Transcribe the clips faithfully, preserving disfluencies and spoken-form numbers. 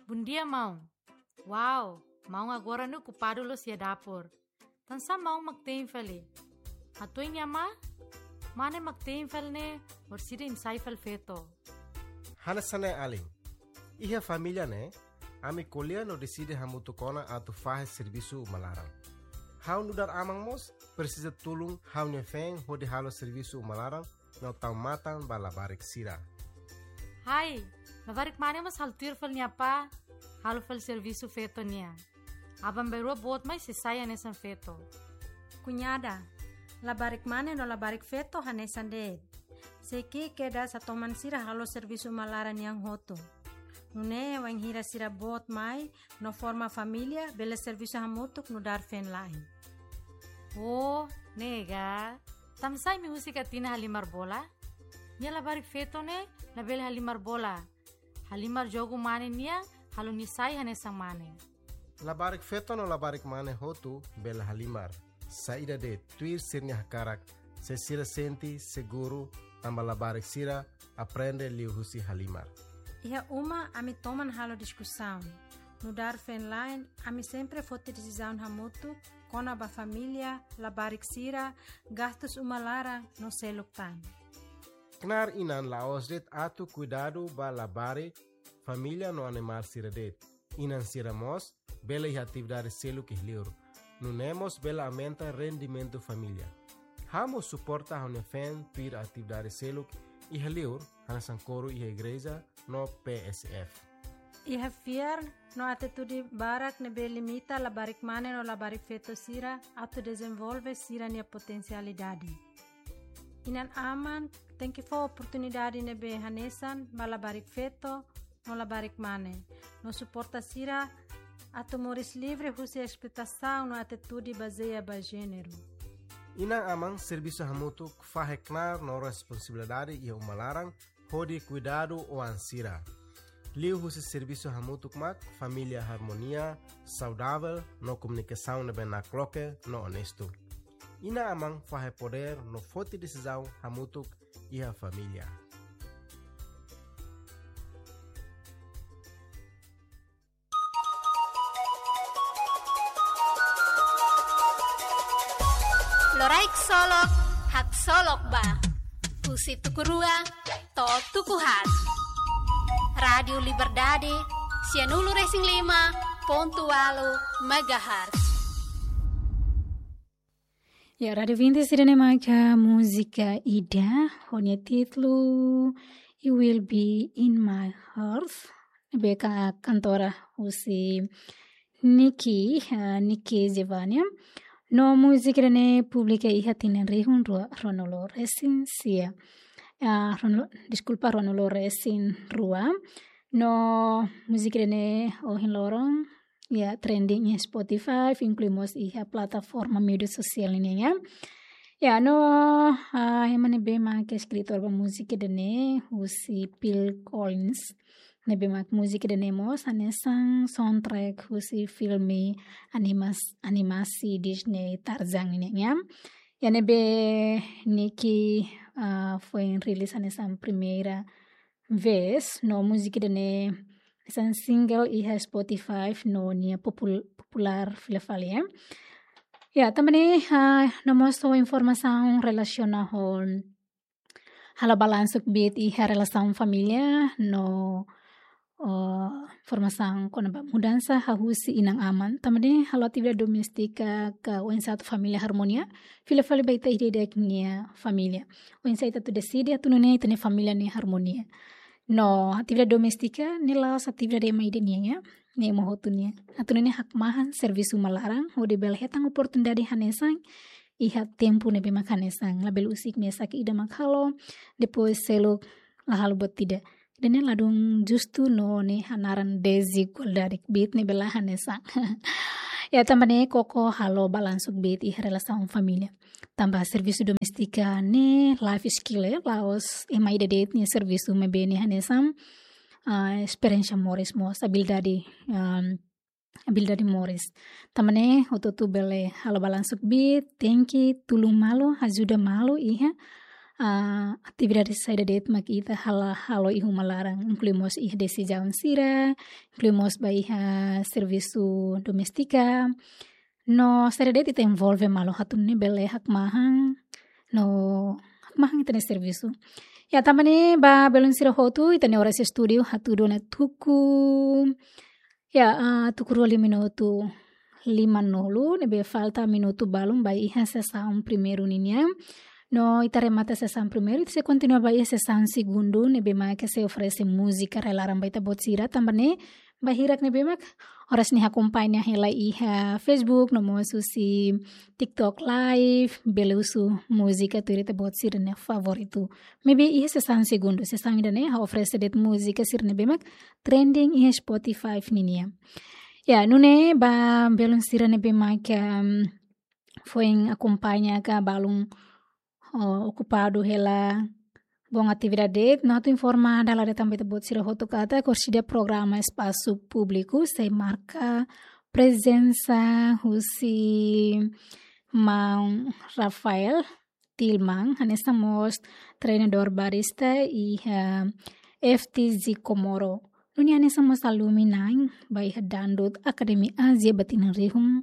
Bondia, maun. Wow, maun agora ne'e okupadu loos iha dapur. Tansá maun mak te'in fali? Hatudu nia mane, mane mak te'in fali ne'e, orsida imi sai fali feto. Hanesan ne'e alin. Iha família ne'e, ami ko'alia no deside hamutuk ona atu fahe servisu uma laran. Ha'u nu'udar aman mós presiza tulun ha'u-nia feen hodi halo servisu uma laran no tau matan ba labarik sira. Hai, labarik mane mós halo tuir fali nia apá, halo fali servisu feto nian. Aban-bainrua boot mai sei sai hanesan feto. Kuñada, labarik mane no labarik feto hanesan de'it. Sei ki'ik kedas atu toman sira halo servisu uma laran nian hotu. Nune'e wainhira sira boot mai no forma família, bele servisu hamutuk nu'udar feen-la'en. Oh, ne'e ka. Tansá imi husik Atina halimar bola? Nia labarik feto ne'e labele halimar bola. Halimar jogu mane nian, halo nia sai hanesan mane. Labarik feto no labarik mane hotu bele halimar. Saida de'it, tuir sira-nia hakarak, se sira sente seguru, tanba labarik sira aprende liuhusi halimar. Iha uma ami toman halo diskusaun. Nu'udar feen-la'en, ami sempre foti desizaun hamutuk kona-ba família, labarik sira, gastus uma laran no seluk tan. Knaar inan la'ós de'it atu kuidadu ba labarik, família no animál sira de'it. Inan sira mós bele iha atividade seluk iha li'ur. Nune'e mós bele aumenta rendimentu família. Ha'u mós suporta ha'u-nia feen tuir atividade seluk iha li'ur, hanesan koru iha igreja no P S F. Iha fiar no atitude barak ne'ebé limita labarik mane no labarik feto sira atu dezenvolve sira-nia potensialidade. Inan-aman tenke fó oportunidade ne'ebé hanesan ba labarik feto no labarik mane, no suporta sira atu moris livre husi esploitasaun no atitude bazeia ba jéneru. Inan-aman servisu hamutuk fahe knaar no responsabilidade iha uma laran hodi kuidadu oan sira. Liuhusi servisu hamutuk mak família harmonia, saudavel no komunikasaun ne'ebé nakloke no onestu. Inan-aman fahe podér no foti desizaun hamutuk iha família. Loraik solok, haksolok ba. Husi tuku rua to'o tuku haat. Rádiu Liberdade, sianulu resin lima pontu ualu megahertz. Ya, Rádiu Vinti sira-ne'e mak múzika ida, ho nia títulu You Will Be In My Heart. Ne'ebé kantora husi Nikki, ah, Nikki Giovanni. No múzika ida-ne'e publika iha tinan rihun rua ruanulu resin sia. Ah, ruanulu, deskulpa, ruanulu resin rua. No múzika ida-ne'e ohin loron, ya, trending iha Spotify, inklui mós iha plataforma média sosiál nian, ya. Ya, no, ah, ema ne'ebé mak eskritór ba múzika ida-ne'e, husi Phil Collins. Ne'ebé mak múzika ida-ne'e mós hanesan soundtrack husi filme animas-, animasi Disney Tarzan nian, ya. Ya, ne'ebé Nikki, ah, foin rilis hanesan primeira vez, no múzika ida-ne'e hanesan single iha Spotify, no nia popul-, populár fila fali, ya. Ya, tanba ne'e, ah, no mós fó informasaun relasiona ho halo balansu kbiit iha relasaun família, no, oh, informasaun kona-ba mudansa hahú husi inan-aman. Tanba ne'e halo atividade doméstika ka oinsá atu família harmonia, fila fali ba ita ida-idak nia família. Oinsá ita atu deside atu nune'e ita-nia família ne'e harmonia. No, atividade doméstika ne'e la'ós atividade ema ida nian, ya. Ne'e ema hotu nian. Atu nune'e hakmahan servisu uma laran, hodi bele hetan oportunidade hanesan, iha tempu ne'ebé mak hanesan. Labele husik mesak ida mak halo, depois seluk la halo buat ida. Ida-ne'e ladún justu no ne'e hanaran dezigualdade kbiit ne'ebé la hanesan. Ya, tanba ne'e koko halo balansu kbiit iha relasaun família. Tanba servisu doméstika ne'e life skill, eh, la'ós ema ida de'it nia servisu, maibé ne'e hanesan, ah, esperiénsia moris mós, abilidade, ah, abilidade moris. Tanba ne'e hotu-hotu bele halo balansu kbiit, tenke tulun malu, ajuda malu iha, ah, atividade saida de'it mak ita halo, halo iha uma laran, inklui mós iha desizaun sira, inklui mós ba iha servisu doméstika. No saida de'it ita envolve malu atu nune'e bele hakmahan, no hakmahan ita-nia servisu. Ya, tanba ne'e ba belun sira hotu, ita-nia oras estúdiu hatudu ona tuku, ya, ah, tuku rua liu minutu limanulu, ne'ebé falta minutu balun ba iha sesaun primeiru ninian. No ita remata sesaun primeiru, ita sei kontinua ba iha sesaun segundu, ne'ebé mak sei oferese múzika rai-laran ba ita-boot sira, tanba ne'e ba hirak ne'ebé mak oras ne'e akompaña hela iha Facebook, no mós husi TikTok Live, bele husu múzika tuir ita-boot sira-nia favoritu. Maibé iha sesaun segundu, sesaun ida-ne'e ha'u oferese de'it múzika sira ne'ebé mak trending iha Spotify ninian. Ya, nune'e ba belun sira ne'ebé mak, em, foin akompaña ka balun, oh, okupadu hela boot atividade, no atu informa dala ida tan ba ita-boot sira hotu katak orsida programa espasu públiku sei marka prezensa husi maun Rafael Tilman, hanesan mós treinadór barista iha F T Z Comoro. Nune'e hanesan mós alumni na'in ba iha Dangdut Academy Asia ba tinan rihun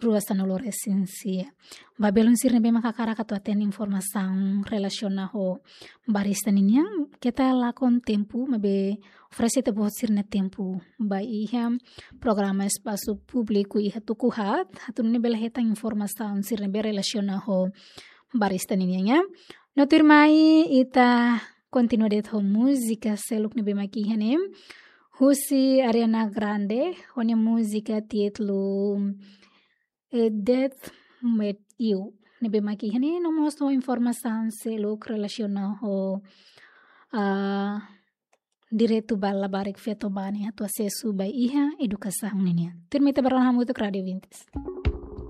rua sanulu resin sia. Ba belun sira ne'ebé mak hakarak atu hatene informasaun relasiona ho barista ninian, keta lakon tempu, maibé oferese ita-boot sira-nia tempu ba iha programa espasu públiku iha tuku haat, atu nune'e bele hetan informasaun sira ne'ebé relasiona ho barista ninian, ya. No tuirmai ita kontinua de'it ho múzika seluk ne'ebé mak iha ne'e. Husi Ariana Grande, ho nia múzika títulu, eh, Death Meet You. Ne'ebé mak iha ne'e, no mós ho informasaun seluk relasiona ho, ah, direitu ba labarik feto-bani atu asesu ba iha edukasaun ninian. Tuirmai ita bá rona hamutuk Rádiu Vintes.